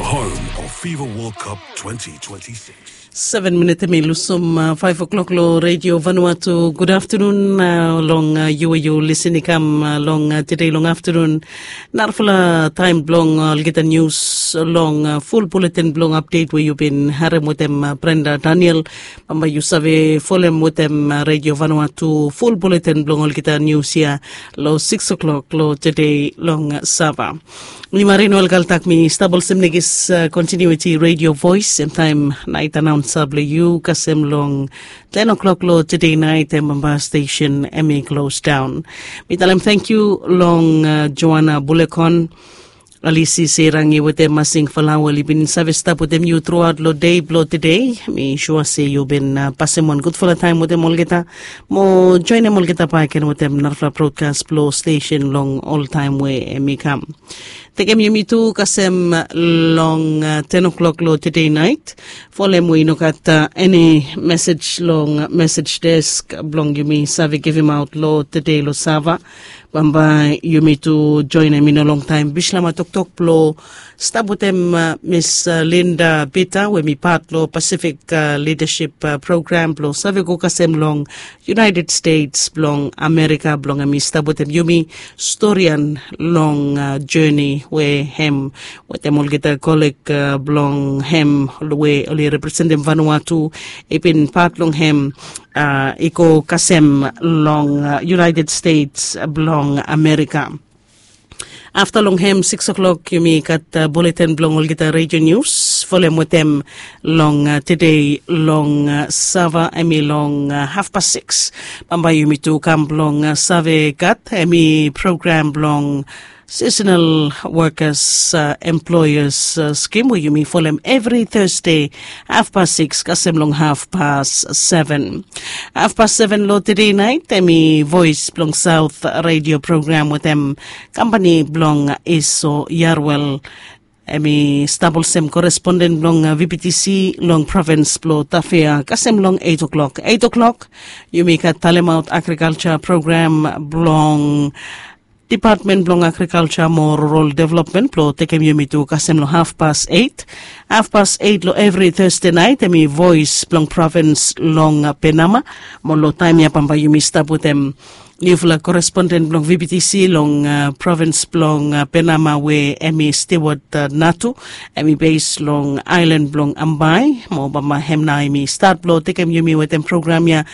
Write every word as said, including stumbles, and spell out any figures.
Home of FIFA World Cup twenty twenty-six. Seven minit em i lusum uh, five o'clock lo Radio Vanuatu. Good afternoon uh, long uh, yu we yu lisin i kam uh, long uh, today long afternoon. Narafala taim blong uh, olgeta news long uh, full bulletin blong update we yu bin harem wetem uh, Brenda Daniel. Bamba yu save folem wetem uh, Radio Vanuatu full bulletin blong olgeta news ia lo six o'clock lo today long uh, Sava. Mi Marin Welgaltak mi stap olsem negis uh, continuity radio voice em taim nait anaunsa blong yu kasem long ten o'clock lo today nait em bamba station em i close down. Mi talem thank you long uh, Joanna Bulekon. Alisi Serangi wetem Masing Falawa li bin save stap wetem yu throughout lo day blo today. Mi sure se yu bin uh, pasem wan gudfala taim wetem olgeta mo joinem olgeta baken wetem narafala broadcast blo station long ol taim we em i kam. Tekem yumi tu kasem long uh, ten o'clock lo today nait. Folem we i no gat uh, eni message long message desk blong yumi save givim aut lo today lo Sava. Bamba yumi tu joinem i no longtaim bislama toktok blo stap wetem uh, Miss uh, Linda Peter we mi pat lo Pacific uh, Leadership uh, Program blo save go kasem long United States blong Amerika blong em i stap wetem yumi storian long uh, journey we hem wetem olgeta koleg uh, blong hem we oli representim Vanuatu i bin pat long hem uh, i go kasem long uh, United States blong Amerika. Afta long hem six o'clock yumi gat uh, bulletin blong olgeta radio news folem wetem long uh, today long uh, Sava em i long uh, half past six. Bamba yumi tu kam blong uh, save gat em i program blong seasonal workers uh, employers uh, scheme we yumi folem every Thursday half past six kasem long half past seven. Half past seven lo today nait em i voice blong South radio program wetem kampani blong Iso Yarwel. Em i stap olsem koresponden blong uh, V P T C long provins blo Tafea kasem long eight o'clock. Eight o'clock yumi gat talemaut agrikaltsa program blong Department blong Agrikaltsa mo Rural Development blo tekem yumi tu kasem long half past eight. Half past eight lo every Thursday nait em i voice blong provins long uh, Penama. Mo lo taim ya bamba yumi stap wetem niufala koresponden blong V P T C long uh, provins blong uh, Penama we em i Stewart uh, Natu. Em i base long ailan blong Ambai mo bamba hem nao em i stat blo tekem yumi wetem program ya